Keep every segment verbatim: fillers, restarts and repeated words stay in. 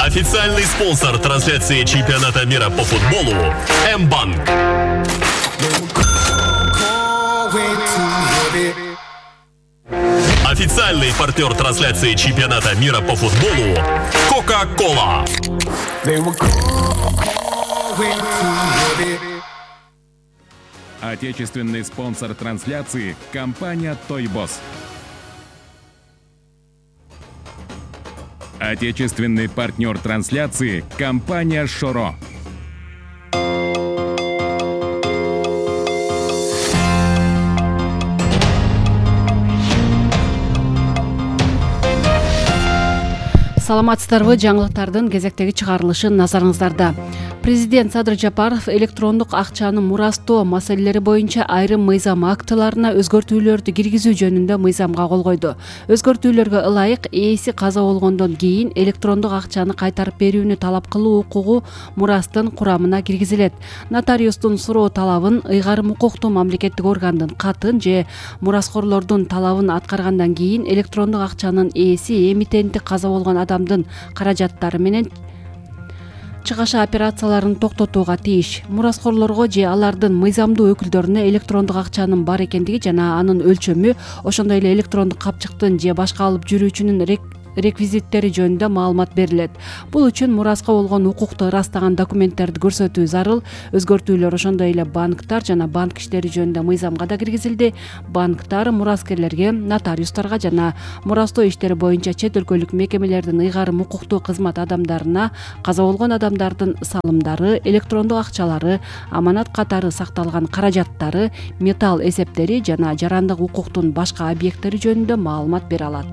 Официальный спонсор трансляции чемпионата мира по футболу М-банк. Официальный партнер трансляции чемпионата мира по футболу Кока-Кола. Отечественный спонсор трансляции – компания Тойбос. Отечественный партнер трансляции – компания Шоро. Саламатсыздарбы, жаңылыктардын кезектеги чыгарылышы назарыңыздарда. Президент Садыр Жапаров электрондук акчаны мурастоо маселелери боюнча айрым мыйзам актыларына өзгөртүүлөрдү киргизүү жөнүндө мыйзамга кол койду. Өзгөртүүлөргө ылайык ээси каза болгондон кийин электрондук акчаны кайтарып берүүнү талап кылуу укугу мурастын курамына киргизилет. Нотариустун суроо талабын, ыйгарым укуктуу мамлекеттик органдын катын же мураскорлордун талабын аткаргандан кийин электрондук акчанын ээси эмитенти каза болгон адамдын каражаттары менен чыгаша операцияларын токтотууга тийиш. Мураскорлорго же алардын мыйзамдуу өкүлдөрүнө электрондук акчанын бар экендиги жана анын өлчөмү, ошондой эле электрондук капчыктын же башка алып жүрүүчүнүн реквизиттери жөнүндө маалымат берилет. Бул үчүн мураска болгон укукту ырастаган документтерди көрсөтүү зарыл. Өзгөртүүлөр ошондой эле банктар жана банк иштери жөнүндө мыйзамга да киргизилди. Банктар мураскерлерге, нотариустарга жана мурастоо иштери боюнча чет өлкөлүк мекемелердин ыйгарым укуктуу кызмат адамдарына каза болгон адамдардын салымдары, электрондук акчалары, аманат катары сакталган каражаттары, металл эсептери жана жарандык укуктун башка объекттери жөнүндө маалымат бере алат.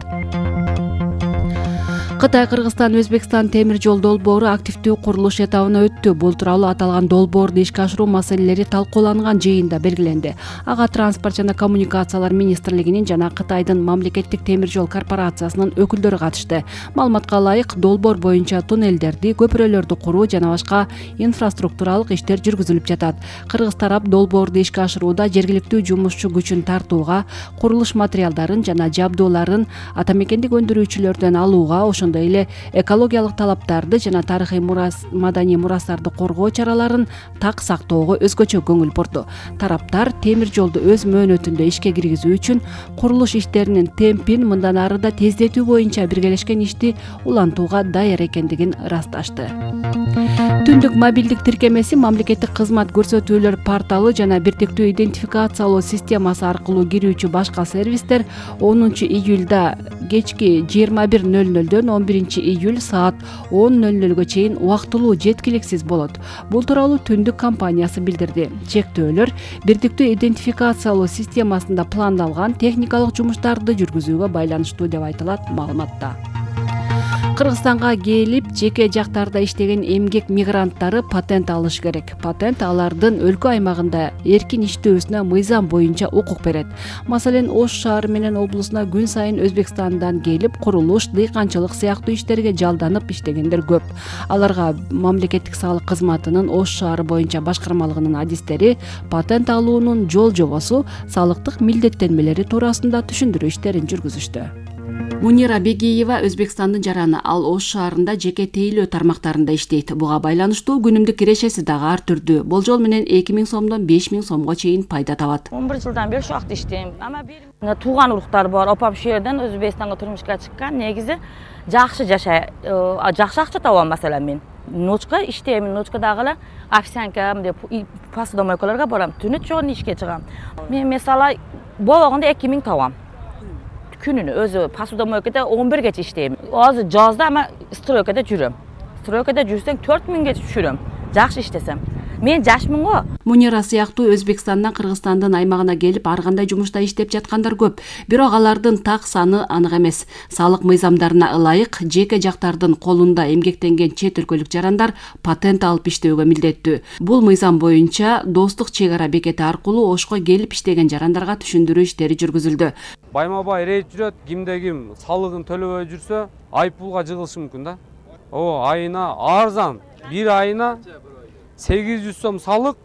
Кытай, Кыргызстан, Өзбекстан темир жол долбоору активдүү курулуш этабына өттү. Бул тууралуу аталган долбоорду ишке ашыруу маселелери талкууланган жыйында белгиленди. Ага транспорт жана коммуникациялар министрлигинин жана Кытайдын мамлекеттик темир жол корпорациясынын өкүлдөрү катышты. Маалыматка ылайык, долбоор боюнча туннелдерди, көпүрөлөрдү куруу жана башка инфраструктуралык иштер жүргүзүлүп жатат. Кыргыз тарап долбоорду ишке ашырууда жергиликтүү жумушчу күчүн тартууга, курулуш материалдарын жана жабдууларын ата мекендик өндүрүүчүлөрдөн алууга, ошондой эле экологиялык талаптарды жана тарыхый мурас, маданий мурастарды коргоо чараларын так сактоого өзгөчө көңүл бурду. Тараптар темир жолду өз мөөнөтүндө ишке киргизүү үчүн курулуш иштеринин темпин мындан ары да тездетүү боюнча биргелешкен ишти улантууга даяр экендигин ырасташты. Түндүк мобилдик тиркемеси мамлекеттик кызмат көрсөтүүлөр порталы жана бирдиктүү идентификациялоо системасы аркылуу кирүүчү башка сервистер онунчу июлда кечки жыйырма бир ноль нолдон он биринчи июль саат он ноль нолго чейин убактылуу жеткиликсиз болот. Бул тууралуу Түндүк компаниясы билдирди. Чектөөлөр бирдиктүү идентификациялоо системасында пландалган техникалык жумуштарды жүргүзүүгө байланыштуу деп айтылат маалыматта. Кыргызстанга келип, жеке жактарда иштеген эмгек мигранттары патент алыш керек. Патент алардын өлкө аймагында эркин иштөөсүнө мыйзам боюнча укук берет. Маселен, Ош шаары менен облусуна күн сайын Өзбекстандан келип, курулуш, дыйканчылык сыяктуу иштерге жалданып иштегендер көп. Аларга мамлекеттик салык кызматынын Ош шаары боюнча башкармалыгынын адистери патент алуунун жол жобосу, салыктык милдеттенмелери туурасында түшүндүрүү иштерин жүргүзүштү. Мунира Бегиева Өзбекстандын жараны, ал Ош шаарында жеке тейлөө тармактарында иштейт. Буга байланыштуу күнүмдүк кирешеси дагы ар түрдүү. Болжол менен эки миң сомдон беш миң сомго чейин пайда табат. он бир жылдан бери ушул жакта иштейм. Ама бир тууган уруктар бар. Опам ушул жерден Өзбекстанга турмушка чыккан. Негизи жакшы жашай, жакшы акча табам. Маселен, мен ночка иштейм, ночкадагы эле официантка деп посудомойкаларга барам. Түнү чогуу ишке чыгам. Мен мисалы болгондо эки миң табам. Күнүнө өзү посудомойкада он биргече иштейм. Азыр жазда ама стройкада жүрөм. Стройкада жүрсөң төрт миңге түшүрөм. Жакшы иштесем. Мен жашмын го. Мунира сыяктуу Өзбекстандан Кыргызстандын аймагына келип, ар кандай жумушта иштеп жаткандар көп. Бирок алардын так саны анык эмес. Салык мыйзамдарына ылайык, жеке жактардын колунда эмгектенген чет өлкөлүк жарандар патент алып иштөөгө милдеттүү. Бул мыйзам боюнча достук чек ара бекети аркылуу Ошко келип иштеген жарандарга түшүндүрүү иштери жүргүзүлдү. Байма-бай рейд жүрөт, кимде ким салыгын төлөбөй жүрсө, айыппулга жыгылышы мүмкүн да. О, айына арзан, бир айына сегиз жүз сом салык,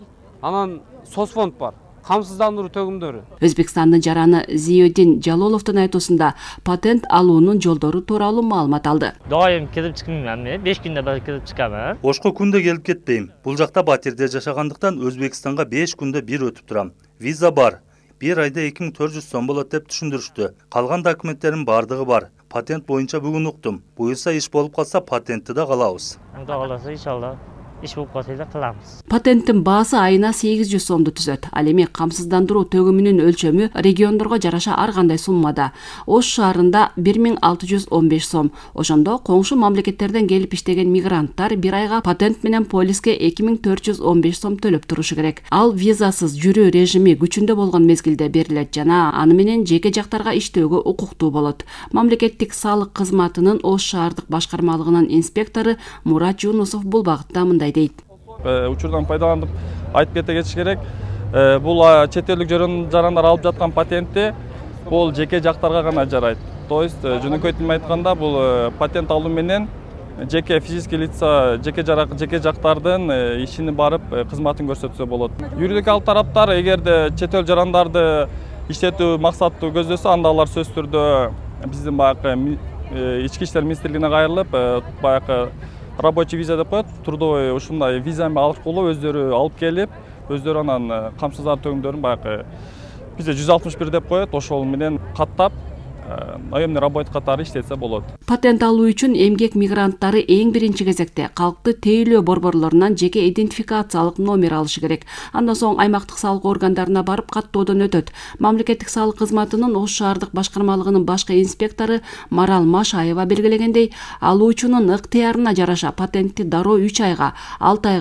анан соцфонд бар. камсыздандыруу төгүмдөрү. Өзбекстандын жараны Зиёдин Жалоловдун айтуусунда патент алуунун жолдору тууралуу маалымат алды. Дайым кирип чыкмайм, беш күндө бир кирип чыкам. Ошко күндө келип кетпейм. Бул жакта батирде жашагандыктан Өзбекстанга беш күндө бир өтүп турам. Виза бар. Бир айда эки миң төрт жүз сом болот деп түшүндүрүштү. Калган документтердин бардыгы бар. Патент боюнча бүгүн уктум. Буюрса иш болуп калса патентти да калабыз. Кудай кааласа иншалла иш болуп калса да кылабыз. Патенттин баасы айына сегиз жүз сомду түзөт. Ал эми камсыздандыруу төгүмүнүн өлчөмү региондорго жараша ар кандай суммада. Ош шаарында бир миң алты жүз он беш сом. Ошондо коңшу мамлекеттерден келип иштеген мигранттар бир айга патент менен полиске эки миң төрт жүз он беш сом төлөп турушу керек. Ал визасыз жүрүү режими күчүндө болгон мезгилде берилет жана аны менен жеке жактарга иштөөгө укуктуу болот. Мамлекеттик салык кызматынын Ош шаардык башкармалыгынын инспектору Мурат Жунусов бул багытта мындай дейт. Учурдан пайдаланып айтып кете кетиш керек. Бул чет элдик жарандар алып жаткан патентти бул жеке жактарга гана жарайт. То есть жөнөкөй тил менен айтканда бул патент алуу менен жеке физический лица жеке жарак жеке жактардын ишини барып кызматын көрсөтсө болот. Юридикалык тараптар эгерде чет эл жарандарды иштетүү максаттуу көздөсө, анда алар сөзсүз түрдө биздин баягы ички иштер министрлигине кайрылып, баягы рабочий виза деп коет, трудовой ушундай виза аркылуу өздөрү алып келип, өздөрү анан камсыздандыруу төгүмдөрүн баягы бизде жүз алтымыш бир деп коет, ошол менен каттап наемный работник катары иштетсе болот. Патент алуу үчүн эмгек мигранттары эң биринчи кезекте калкты тейлөө борборлорунан жеке идентификациялык номер алышы керек. Андан соң аймактык салык органдарына барып каттоодон өтөт. Мамлекеттик салык кызматынын Ош шаардык башкармалыгынын башкы инспектору Марал Машаева белгилегендей, алуучунун ыктыярына жараша патентти дароо үч айга, алты айга